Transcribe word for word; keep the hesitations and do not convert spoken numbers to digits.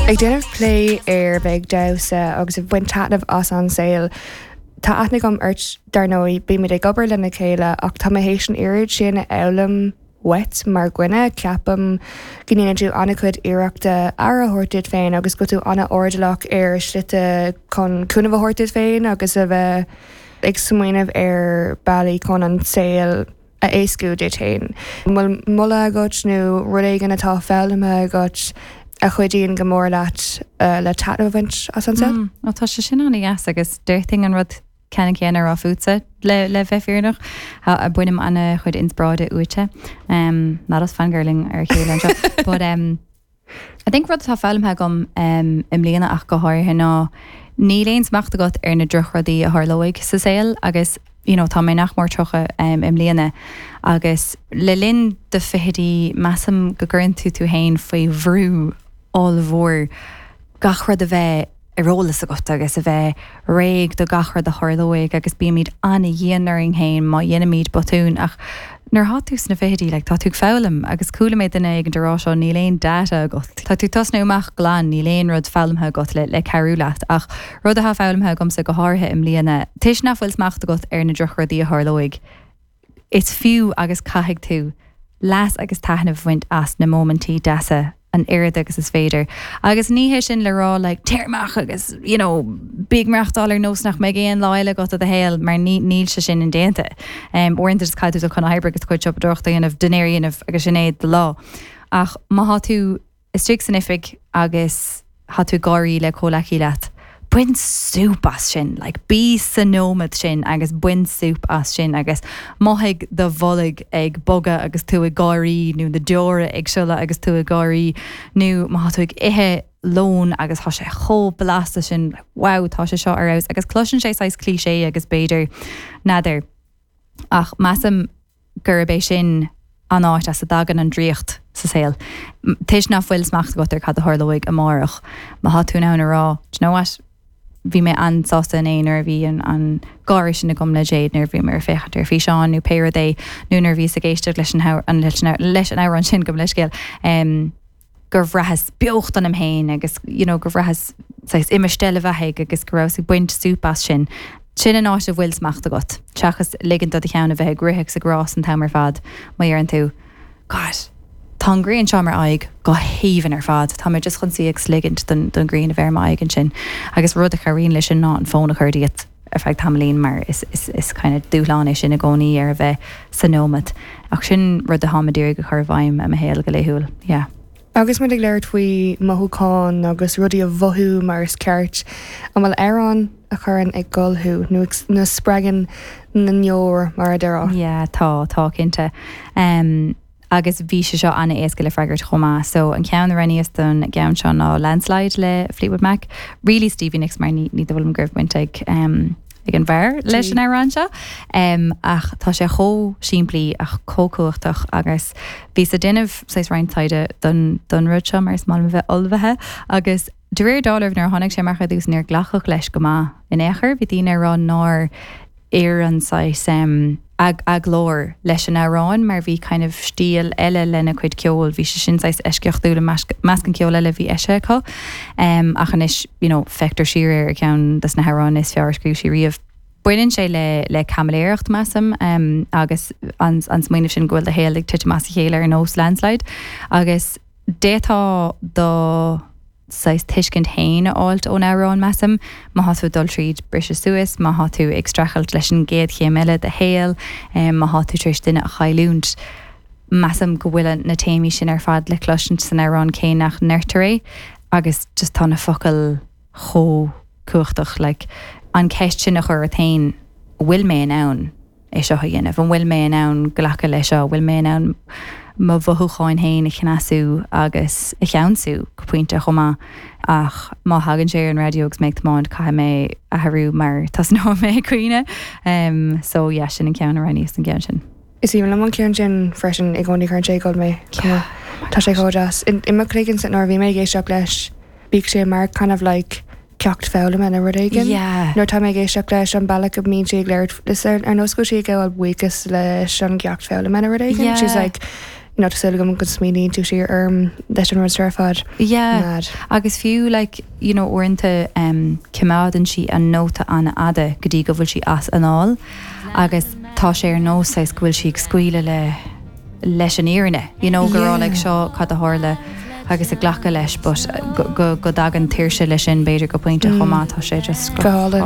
Ag déanamh plé ar bheith ag damhsa agus ag baint taitneamh as an saol. Tá aithne agam ort dar ndóigh bímid ag obair lena chéile ach tá mé théis an oiread sin a fhoghlaim uait mar dhuine ceapaim go ndéanann tú an-chuid iarrachta aire a thabhairt duit féin agus go tú an-airdeallach ar shlite chun cúnamh a thabhairt duit féin agus a bheith ag smaoineamh ar bealaí chun an saol a éascú duit féin. Bhfuil moladh agat nó rud éigin atá foghlamtha agat a chuidíonn go mór leat uh, le taitneamh a bhaint as an saol? Mm, Ó tá sé sin an-deas agus déarfainn an rud ceanna céanna a rá fútsa le le bheith fírinneach a bainim an-chuid inspioráide uaitse. Um, not us fangirling ar chéile anseo. But um, I think rud atá foghlamtha agam um, i mbliana ach go háirithe ná níl aon smacht agat ar na drochrudaí a tharlóidh sa saol agus you know, tá mé nach mór tríocha um, i mbliana agus le linn do fichidí measaim go gcuireann tú tú féin faoi bhrú ollmhór gach rud a bheith ar eolas agat agus a bheith réidh do gach rud a tharlóidh agus bímid an-dhian orainn féin má dhéanaimid botún ach nuair atá tú sna fichidí like, tá tú ag foghlaim agus chuala mé duine ag an rá seo níl aon data agat. Tá tú tosnú amach glan níl aon rud foghlamtha agat le, le cabhrú leat ach rud atá foghlamtha agamsa go háirithe i mbliana Toisc nach bhfuil smacht agat ar na drochrudaí a tharlóidh. Is fiú agus caithfidh tú leas agus taitneamh a bhaint as na móimintí deasa an oiread agus is féidir. Agus ní hé sin le rá like, téir amach agus you know, bí ag maireachtáil ar nós nach mbeidh aon lá eile agat i do shaol mar níl sé sin indéanta. Um, Uaireanta is caithfidh tú chun oibre agus chuid siopadóireachta a dhéanamh dinnéar a dhéanamh agus sin é do lá. Ach má tá tú istigh san oifig agus tá tú ag gáirí le comhghleacaí leat. Bain súp as sin, like, bí sa nóiméad sin agus bain súp as sin agus mothaigh do bholg ag bogadh agus tú ag gáirí nó na deora ag sileadh agus tú ag gáirí nó má tú ag ithe lón agus tá sé chomh blasta sin wow tá sé seo ar fheabhas agus cloiseann sé saghas cliché agus b'fhéidir n'fheadar ach measaim gurb é sin an áit as a dtagann an draíocht sa saol. Toisc nach bhfuil smacht agat ar cad a tharlóidh amárach má tá tú in ann a rá you know what? Bhí mé an-sásta inné nuair a bhí an, an gáire sin agam le Jade nuair bhí mé ag féachaint ar físeán nó pé rud é nó nuair bhí ag éisteacht leis an an leis an leis an amhrán sin go leiscéil. Um, gur bhraitheas beocht ionam féin agus you know, gur bhraitheas imeacht le bheith agus go raibh ag baint súp as sin. Sin an áit a bhfuil smacht agat. Seachas ligean do do cheann a bheith ag rith sa rás an t-am ar fad má deireann tú. God, Tá an ghrian seo ar m'aghaidh go haoibhinn ar fad, Tá mé just chun suí agus ligint don don ghrian a bheith ar m'aghaidh ansin agus rud a chabhraíonn leis sin ná an fón a chur díot ar feadh tamaillín mar is, is, is kind of dúshlán é sin i gcónaí ar a bheith sa nóiméad. Ach sin rud atá mé ag iarraidh a chur i bhfeidhm i mo shaol go laethúil. Yeah. Agus muid ag labhairt faoi mothúcháin agus rudaí a mhothú mar is ceart, an bhfuil amhrán a chuireann ag gol thú nó nó spreagann na deora mar a déarfá. Yeah, tá tá cinnte. Um, agus bhí sé seo an-éasca le freagairt chomh maith, so an ceann a roghnaíos don gceann seo ná Landslide le Fleetwood Mac, really Stevie Nicks mar ní ní bhfuil go raibh ag um, ag an bhfear leis an amhrán seo. Um, ach tá sé chomh simplí ach chomh cumhachtach agus bhíos ag déanamh saghas roinnt taighde don don rud seo mar is maith liom a bheith ullmhaithe agus de réir dealraimh nuair a tháinig sé amach ar dtús níor glacadh leis go maith in aon chor, bhí daoine ag rá nár oir an saghas um, ag a glór leis an amhrán mar bhí kind of stíl eile lena cuid ceoil, bhí sé sin saghas eisceachtúil measc an ceol eile bhí eisithe acu. Um, ach anois you know, feictear siar ar ceann des na hamhráin is fearr a scríobh sí riamh. Baineann sé le le caimiléireacht measaim um, agus an, an smaoineamh sin go bhfuil do shaol ag titim as a chéile ar nós landslide agus d'fhéadfá do saghas tuiscint féin a fháilt ón amhrán measaim, má tá tú dul tríd briseadh suas, má tá tú ag streachailt leis an gcéad chéim eile de shaol, um, má tá tú tar éis duine a chailliúint. Measaim go bhfuil na téamaí sin ar fad le cloisint san amhrán cé nach ndeirtear é agus just tá na focail chomh cumhachtach like, an ceist sin a chur ort féin bhfuil mé in ann é seo a dhéanamh, an bhfuil mé in ann glacadh leis seo, bhfuil mé in ann mo mhothúcháin féin a chneasú agus a cheansú go pointe chomh maith ach má thagann sé ar an raidió agus mé ag tiomáint caithfidh mé athrú mar tosnóidh mé ag caoineadh um, so yeah, sin an ceann a roghnaíos an ceann sin. Is í liom an ceann sin freisin i gcónaí cuireann sé ag gol mé Tá sé chomh deas. I mo chloigeann nuair a bhí mé ag éisteacht leis bíonn sé mar kind of like ceacht foghlama nó rud éigin. Yeah. Nuair tá mé ag éisteacht leis an bealach go mbíonn sé ag labhairt is ar ar nós go sí ag gabháil buíochas leis an gceacht foghlama nó rud éigin. Yeah. She's like you know, tá gom go smaoiníonn tú siar orm leis an rud ar fad. Yeah. Mad. Agus fiú like, you know, uaireanta um, coimeádann sí an nóta an-fhada go dtí go bhfuil sí as anáil agus tá sé ar nós go bhfuil sí ag scaoileadh le leis an fhírinne you know, go Yeah. yeah. like seo cad a tharla agus a glacadh leis but go, go, go dtagann tuirse leis sin b'fhéidir go pointe chomh maith tá sé just Go hálainn.